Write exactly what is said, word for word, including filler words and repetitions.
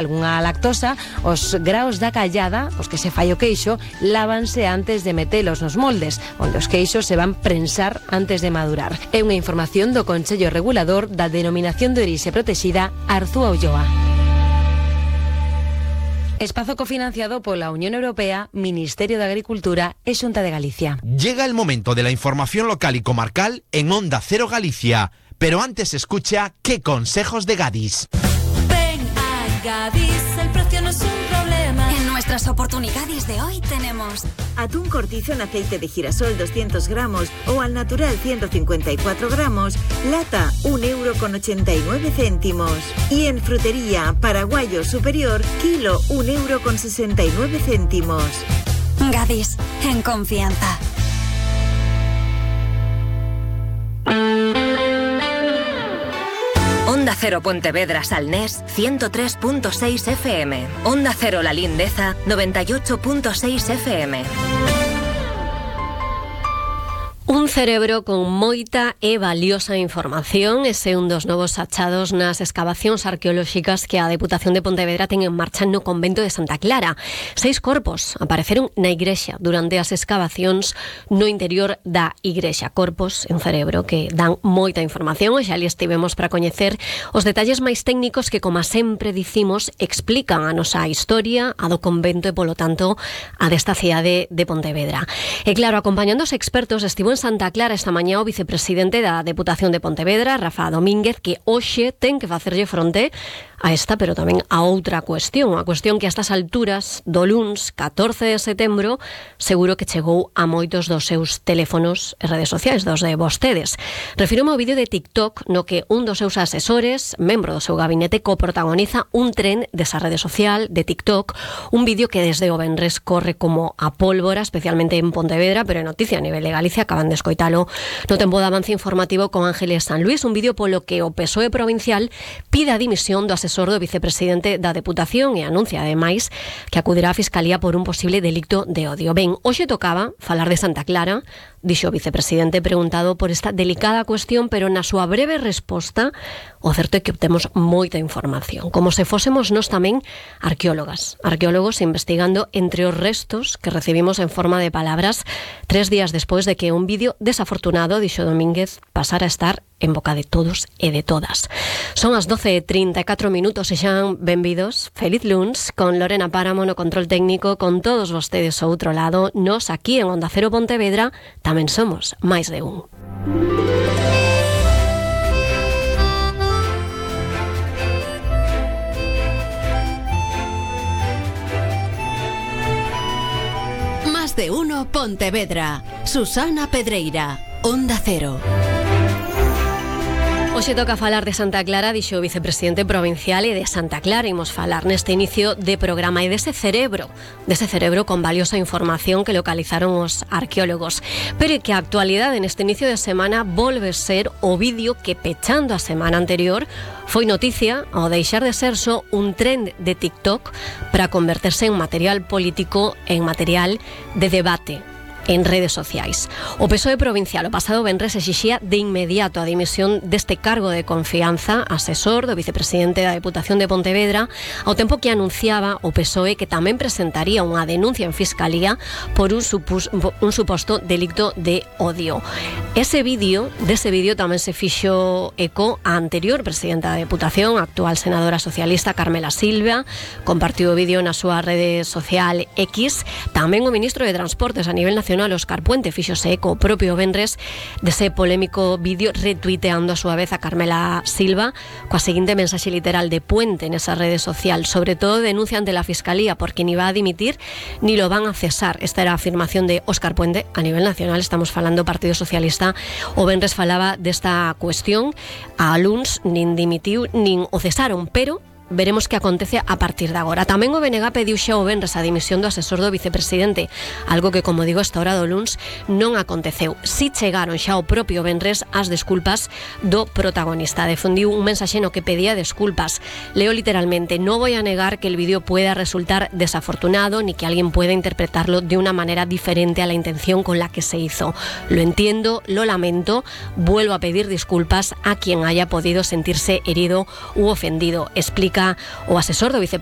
algunha lactosa, os graos da callada, os que se fai o queixo, lávanse antes de metelos nos moldes, onde os queixos se van prensar antes de madurar. É unha información do Consello Regulador da Denominación de Orixe Protexida Arzúa Ulloa. Espazo cofinanciado pola Unión Europea, Ministerio de Agricultura e Xunta de Galicia. Llega el momento de la información local y comarcal en Onda Cero Galicia, pero antes escucha qué consejos de Gadis. Gadis, el precio no es un problema. En nuestras oportunidades de hoy tenemos atún cortizo en aceite de girasol doscientos gramos o al natural ciento cincuenta y cuatro gramos, lata un euro con ochenta y nueve céntimos. Y en frutería, paraguayo superior, kilo un euro con sesenta y nueve céntimos. Gadis, en confianza. Onda Cero Pontevedra Salnés ciento tres punto seis F M. Onda Cero La Lindeza noventa y ocho punto seis F M. Un cerebro con moita e valiosa información. Ese é un dos novos achados nas escavacións arqueolóxicas que a Deputación de Pontevedra ten en marcha no convento de Santa Clara. Seis corpos apareceron na igrexa durante as escavacións no interior da igrexa. Corpos en cerebro que dan moita información e xa ali estivemos para coñecer os detalles máis técnicos que, como sempre dicimos, explican a nosa historia, a do convento e, polo tanto, a desta cidade de Pontevedra. E claro, acompañando os expertos, estivo en Santa Clara esta mañá o vicepresidente da Deputación de Pontevedra, Rafa Domínguez, que hoxe ten que facerlle fronte a esta, pero tamén a outra cuestión, a cuestión que a estas alturas do luns catorce de setembro seguro que chegou a moitos dos seus teléfonos e redes sociais, dos de vostedes. Refírome ao vídeo de TikTok no que un dos seus asesores, membro do seu gabinete, coprotagoniza un tren desa rede social de TikTok, un vídeo que desde o venres corre como a pólvora, especialmente en Pontevedra, pero é noticia a nivel de Galicia, acaban de escoitalo no tempo de avance informativo con Ángeles San Luis, un vídeo polo que o P S O E provincial pide a dimisión do asesor do vicepresidente da Deputación e anuncia, ademais, que acudirá á Fiscalía por un posible delicto de odio. Ben, hoxe tocaba falar de Santa Clara, dixo o vicepresidente preguntado por esta delicada cuestión, pero na súa breve resposta o certo é que obtemos moita información, como se fósemos nós tamén arqueólogas, arqueólogos investigando entre os restos que recibimos en forma de palabras tres días despois de que un vídeo desafortunado, dixo Domínguez, pasara a estar en boca de todos e de todas. Son as doce e trinta e catro minutos e xa benvidos. Feliz luns con Lorena Páramo no control técnico, con todos vostedes ao outro lado. Nos aquí en Onda Cero Pontevedra tamén somos máis de un. Más de uno Pontevedra. Susana Pedreira, Onda Cero. Hoxe toca falar de Santa Clara, dixo o vicepresidente provincial, e de Santa Clara imos falar neste inicio de programa e dese cerebro, dese cerebro con valiosa información que localizaron os arqueólogos. Pero que a actualidade neste inicio de semana volve ser o vídeo que, pechando a semana anterior, foi noticia ao deixar de ser só un trend de TikTok para converterse en material político, en material de debate en redes sociais. O P S O E provincial o pasado venres exixía de inmediato a dimisión deste cargo de confianza asesor do vicepresidente da Deputación de Pontevedra, ao tempo que anunciaba o P S O E que tamén presentaría unha denuncia en Fiscalía por un, supus, un suposto delicto de odio. Ese vídeo, dese vídeo tamén se fixo eco a anterior presidenta da Deputación, a actual senadora socialista Carmela Silva, compartiu o vídeo na súa rede social X. Tamén o ministro de Transportes a nivel nacional, Óscar Puente, fíxose eco o propio venres dese polémico vídeo, retuiteando a súa vez a Carmela Silva coa seguinte mensaxe literal de Puente nesa rede social: sobre todo denuncia ante la Fiscalía porque ni va a dimitir ni lo van a cesar. Esta era a afirmación de Óscar Puente a nivel nacional, estamos falando Partido Socialista. O venres falaba desta cuestión, a luns nin dimitiu nin o cesaron, pero veremos que acontece a partir de agora. Tamén o B N G pediu xa o venres a dimisión do asesor do vicepresidente, algo que, como digo, esta hora do luns non aconteceu. Si chegaron xa o propio venres as desculpas do protagonista. Difundiu un mensaxe no que pedía desculpas. Leo literalmente: no voy a negar que el vídeo pueda resultar desafortunado ni que alguien pueda interpretarlo de una manera diferente a la intención con la que se hizo. Lo entiendo, lo lamento, vuelvo a pedir disculpas a quien haya podido sentirse herido u ofendido, explica o asesor do vicepresidente